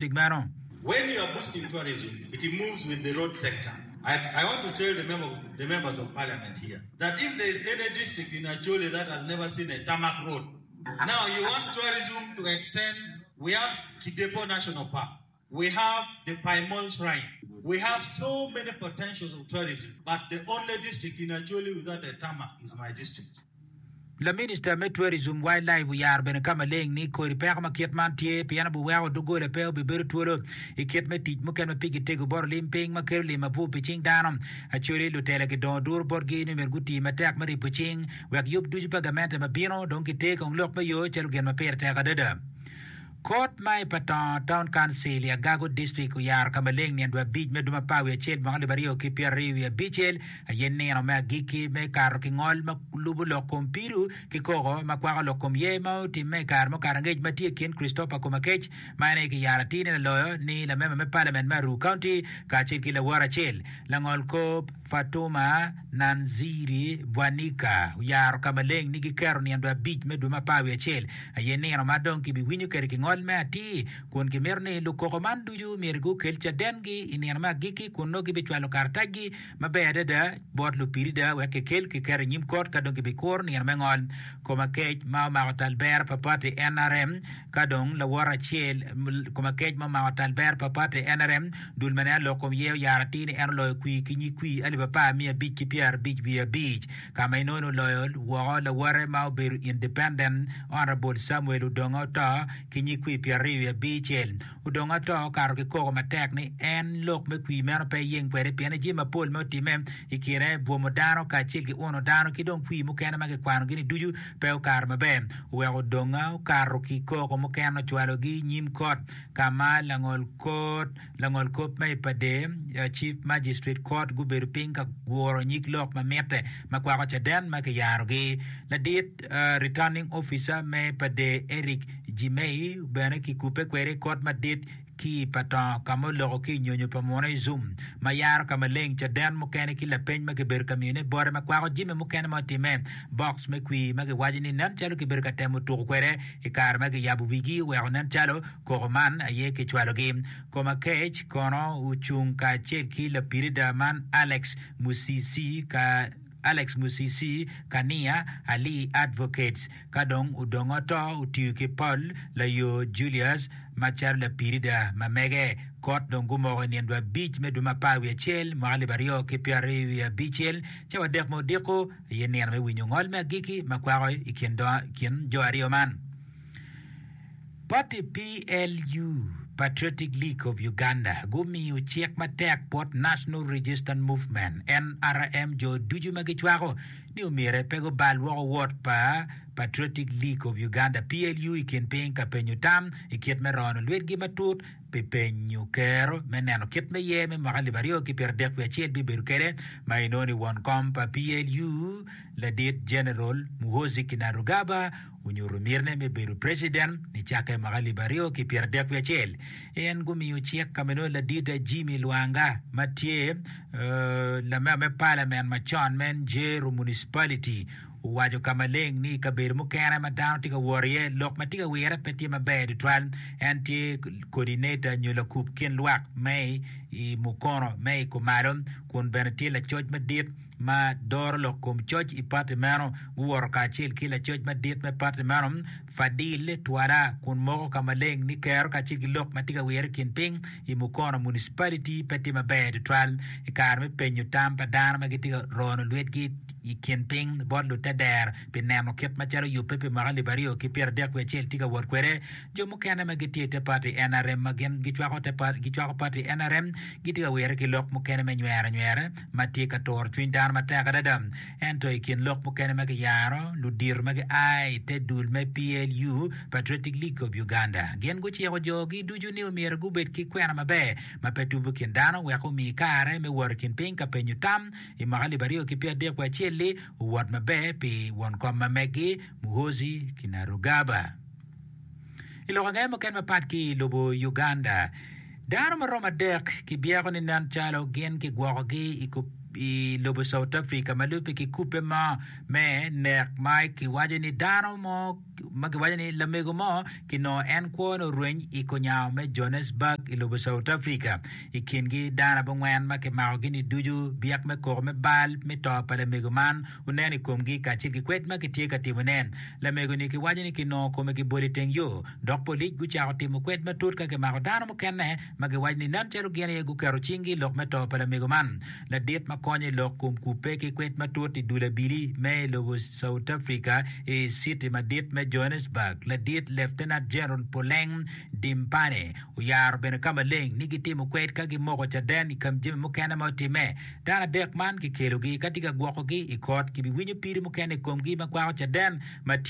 Tic meno. When you are boosting tourism, it moves with the road sector. I, I want to tell the, member, the members of parliament here that if there is any district in Acholi that has never seen a tarmac road, now you want tourism to extend, we have Kidepo National Park, we have the Paimon Shrine, we have so many potentials of tourism, but the only district in Acholi without a tarmac is my district. Laminista me Tourism, Wildlife oyaro bene ka maleng ni kodi peko ma kit man tye pien obiweko doggola pe obibedo twolo i kit me tic mukene ma pigi tego bot olim piny ma kelo lim abwub pi cing dano. Acholi lutela gidongo duru botgi ni myero guti matek me ribo cing wek yub ducu pa gamente ma bino dong giter kong lok me yo calo gin ma pire tek adada. Kot ma i Patongo Town Council i Agago District oyaro ka maleng nino abic me dwe apar wiye acel mwaka alip aryo ki pyeraryo wiye abicel aye nino me agikki me kato ki ngol ma lubo lok kom pido ki koko ma kwako lok kom yer ma otimme i kare mukato angec ma tye i kin Christopher Komakech ma en aye kiyaro atir ni laloyo ni lamemba me Parliament me Aruu County kacel ki lawote acel langol kop Fatuma Nanziri Bwanika oyaro ka maleng ni giketo nino abic me dwe me apar wiye acel aye nino ma dong kibiwinyo kwede ki ngol me atir, kun gimito ni lukoko man ducu myero gukel cadengi i nino me agikki kun nongo gibicwalo karatacgi maber adada bot lupirida wek kikel kiket i nyim kot ka dong kibikuro nino me ngol. Koma kec ma omako tal bero pa pati nrm Ka dong lawote acel, koma kec ma omako tal bero pa pati nrm, dul ma neno lok kom ye oyaro atir ni en oloyo kwir ki nyig kwir alip apar miya abic ki pyerabic wiye abic, ka ma inongo ni oloyo woko lawote ma obedo Independent Honourable Samuel Odonga Oto ki nyig kwir pyeraryo wiye abicel. Odonga Oto okato ki koko matek ni en lok me kwir meno pe eyeng kwede pien ni jami mapol ma otimme i kine bwomo dano kacel ki uno dano ki dong kwir mukene ma kikwanogi ni ducu pe okato maber. Oweko Odonga okato ki koko mukene ocwalogi i nyim kot ka ma langol kop ma i Pader Chief Magistrate Court gubedo piny ka guro nyig lok ma mitte ma kwako caden ma kiyarogi. Ladit Returning Officer me Pader Eric Jimei bene kikubbe kwede i kot madit ki i Patongo ka ma oloko ki i nyonyo pa munu i Zoom ma yaro ka maleng caden mukene ki lapeny ma kibedo ka miyone bote ma kwako jami mukene ma otimme. Box me kwir ma kiwaco ni nen calo kibedo ka temo tuko kwede i kare ma kiyabo wigi oweko nen calo koko man aye kicwalogi. Komakec kono ocung kacel ki lapirida man Alex Musisi ka Alex Musisi Kania Ali Advocates ka dong odongo oto otiyo ki Paul Layo Julius macalo lapirida ma mege. Kot dong gumoko i nino abic me dwe me apar wiye acel mwaka alip aryo ki pyeraryo wiye abicel cawa adek me odiko aye nino me winyo ngol me agikki ma kwako i kin jo aryo man. Pati PLU, Patriotic League of Uganda, gumiyo cik matek bot National Resistance Movement, NRM, jo ducu ma gicwako ni omyere pe gubal woko wot pa Patriotic League of Uganda, PLU, i kin piny ka penyo tam i kit me rono lwitgi matut pi penyo kero me neno kit me yer me mwaka alip aryo ki pyeradek wiye acel bibedo kwede ma inongo ni won kom pa PLU Ladit General Muhoozi Kainerugaba onyuto mitine me bedo preciden nicakke i mwaka alip aryo ki pyeradek wiye acel. En gumiyo cik ka ma inongo ladit Jimmy Lwanga ma tye lamemba me palament macon me Njeru Municipality owaco ka maleng ni i kabedo mukene ma dano tye ka wot iye lok ma tye ka wire pe tye maber tutwal. En tye coordinator nyo lakub kin lwak me i Mukono me i Kumalo kun bene tye lacoc madit ma doro lok kom coc i pati meno guwoto kacel ki lacoc madit me pati meno, Fadil Twala, kun moko ka maleng ni kero kacel ki lok ma tye ka wire i kin piny i Mukono Municipality pe tye maber tutwal i kare me penyo tam pa dano ma gitye ka rono lwetgi i kin piny bot lutedero pi neno kit macalo yubbe pi mwaka alip aryo ki pyeradek wiye acel tye ka wot kwede. Jo mukene ma gitye i te pati NRM ma gin gicwako te gicwako pati NRM gitye ka wire ki lok mukene me nywero anywera ma tye ka turo cwiny dano matek adada. Ento i kin lok mukene ma kiyaro, ludito ma gia i te dul me PLU, Patriotic League of Uganda, gin guciko jogi ducu ni omyero gubed ki kwena maber ma pe tubo kin dano wek omi kare me wot i kin piny ka penyo tam i mwaka alip aryo ki pyeradek wiye acel-li owot maber pi won kom ma meggi Muhoozi Kainerugaba. I lok ange mukene mapat ki i lobo Uganda, dano ma romo adek kibyeko ni nen calo gin kigwokogi i lobo South Africa ma lubbe ki kubbe mo me nek ma kiwaco ni dano mo. ma kiwaco ni lamego mo kinongo en kwone orweny i konyango me Johannesburg i lobo South Africa. I kingi dano abongwen ma kimakogi-ni ducu, byek me koko me bal me to pa lamego man onen i komgi kacel ki kwed ma kitye ka timone. Lamego-ni kiwaco ni kinongo kome kibolo i teng yo, dok polic gucako timo kwed matut ka kimako dano mukene ma giwaco ni nen calo gin aye guketo cinggi i lok me to pa lamego man. Ladit ma konyo i lok kom kubbe ki kwed matut i dul abili me i lobo South Africa i citi madit me Johannesburg, Ladit Lieutenant General Puleng Dimpane oyaro bene ka maleng ni gitimo kwed ka gimoko caden i kom jami mukene ma otimme. Dano adek man kikelogi ka tye ka gwokogi i kot, kibiwinyo pido mukene i komgi ma kwako caden ma tye.